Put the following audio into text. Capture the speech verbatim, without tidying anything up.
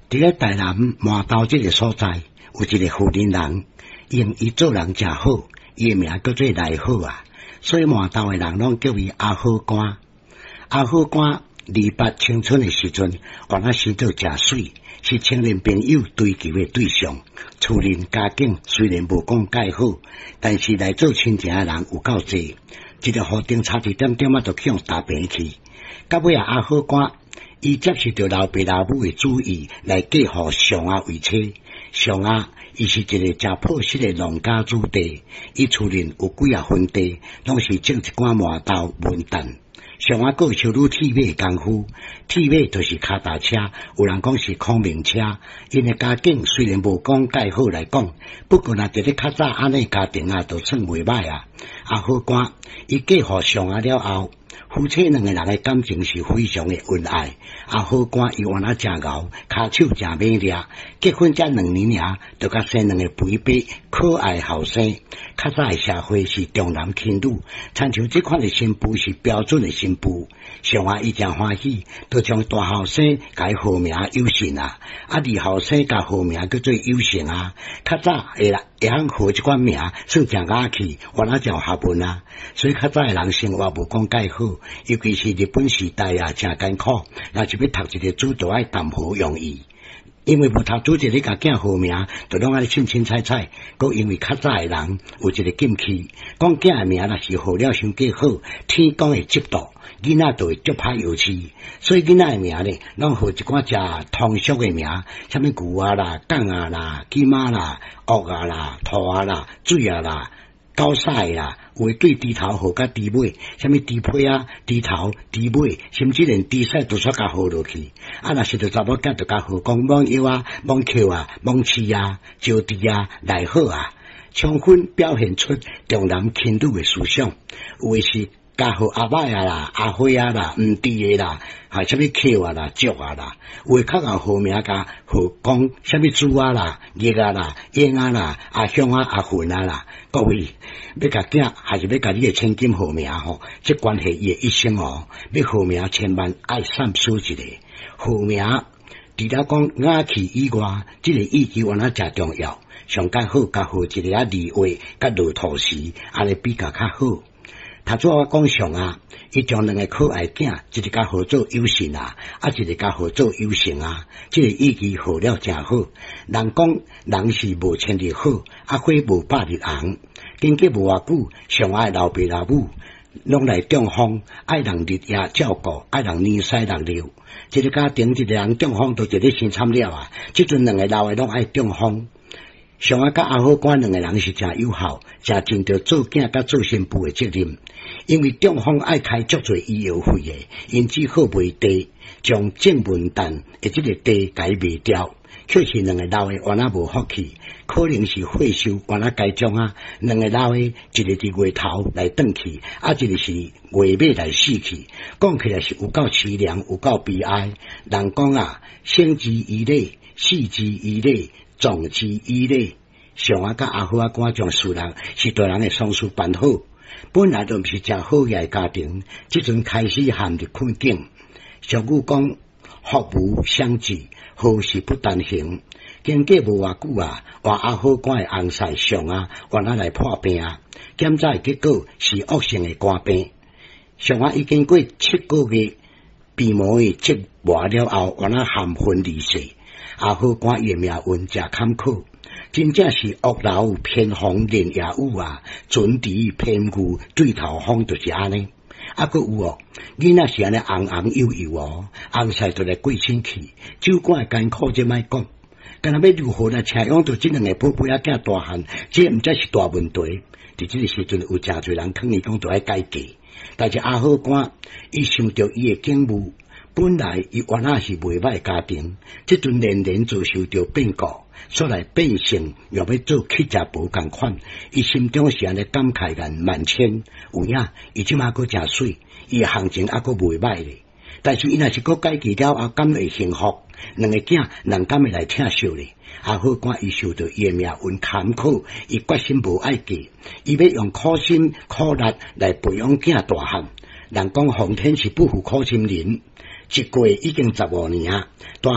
佇咧台南麻豆這个所在，有一个婦人人，因伊做人誠好，伊的名叫做賴好啊，所以麻豆的人攏叫伊阿好官。阿好官二八青春的時陣，原來生做誠媠，是青年朋友追求的對象。厝內家境雖然無講蓋好，但是來做親情的人有夠濟，一个雨頂差一點點仔就去予踏平去。到尾啊，阿好官伊接受著老爸老母的主意來嫁予上阿為妻。上阿伊是一个誠樸實的農家子弟，伊厝內有幾仔分地，攏是種一寡麻豆文旦。上阿閣有修理鐵馬的功夫，鐵馬就是跤踏車，有人講是孔明車。𪜶的家境雖然無講蓋好來講，不過若佇咧較早按呢家庭啊，都算袂䆀啊。阿好官伊嫁予上阿了後，夫妻兩个人的感情是非常的恩愛。阿好官伊原來誠𠢕，跤手誠猛掠，結婚才兩年爾，就共生兩个肥白可愛後生。較早的社會是重男輕女，親像這款的新婦是標準的新婦。上阿伊誠歡喜，就將大後生共伊號名有信啊，啊二後生共號名叫做有成啊。較早會啦會曉號這款名，算誠雅氣，原來誠有學問啊。所以較早的人生活無講蓋好，尤其是日本時代啊，誠艱苦。若是欲讀一個書，就愛談何容易。因為無讀書，一個共囝號名，就攏按呢凊凊彩彩。閣因為較早的人有一個禁忌，講囝的名若是號了傷過好，天公會嫉妒，囡仔就會足歹藥飼。所以囡仔的名咧，攏號一寡誠通俗的名，啥物牛仔啦、港仔啦、金仔啦、鱷仔啦、兔仔啦、水仔啦、狗屎啦，有的對豬頭號甲豬尾，啥物豬皮仔、豬頭、豬尾，甚至連豬屎都煞共號落去。啊，若是著查某囝，就共號講罔腰啊、罔扣啊、罔飼啊、招豬啊、來好啊，充分表現出重男輕女的思想。有的是共號阿歹仔啦、阿花仔啦、毋知的啦，還啥物扣啊啦、足啊啦，有的較𠢕號名共號講啥物豬仔啦、鴨仔啦、鷹仔啦、阿鄉仔、阿雲仔啦。各位欲共囝，還是欲共你的千金號名吼？這關係伊的一生哦。欲號名千萬愛三思一下。號名除了講雅氣以外，這个意義原來誠重要。上較好共號一个仔二月佮落土時，按呢比較較好。頭拄我講上啊，伊將兩个可愛囝，一个共號做有信啊，啊一個共號做有成啊，這个意義號了誠好。人講人是無千日好，啊花無百日紅。經過無偌久，上阿的老爸老母攏來中風，愛人日夜照顧，愛人年屎六尿。一个家庭一个人中風，就一个傷慘了啊！這陣兩个老的攏愛中風。上阿佮阿好官兩个人是誠友好，誠盡著做囝佮做新婦的責任。因為中風愛開足濟醫藥費的，𪜶只好賣地，將種文旦的這个地共伊賣掉。卻是兩个老的原來無福氣，可能是歲數原來該種啊。兩个老的，一个佇月頭來轉去，啊，一个是月尾來死去。講起來是有夠淒涼，有夠悲哀。人講啊，生之以禮，死之以禮，葬之以禮。上阿佮阿好仔官將事人是大人的喪事辦好，本來就毋是誠好額的家庭，這陣開始陷入困境。俗語講，福無雙至，好事不單行。經過無偌久啊，換阿好官的翁婿上啊，原來來破病啊，檢查的結果是惡性的肝病。上阿已經過七個月病魔的折磨了後，原來含恨離世。阿好官伊的命運誠坎坷，真正是屋漏偏逢連夜雨啊，船遲偏遇對頭風，就是按呢。啊，閣有哦，囡仔是按呢紅紅幼幼哦，翁婿就來過身去，酒館的艱苦這莫講，敢若欲如何來請養著這兩個寶貝仔囝大漢，這毋才是大問題。佇這个時陣有誠濟人勸伊講著愛改嫁，但是阿好官伊想著伊的境遇，本來伊原來是袂䆀家庭，這陣連連遭受著變故，煞來變成欲欲做乞食婆仝款，伊心中是按呢感慨萬萬千。有影，伊這馬閣誠媠，伊的行情猶閣袂䆀咧。但是伊若是閣改嫁了後，敢會幸福？兩个囝人敢會來疼惜咧？阿好官伊受著伊的命運坎坷，伊決心無愛嫁，伊欲用苦心苦力來培養囝大漢。人講皇天是不負苦心人，一過已經十五年啊，大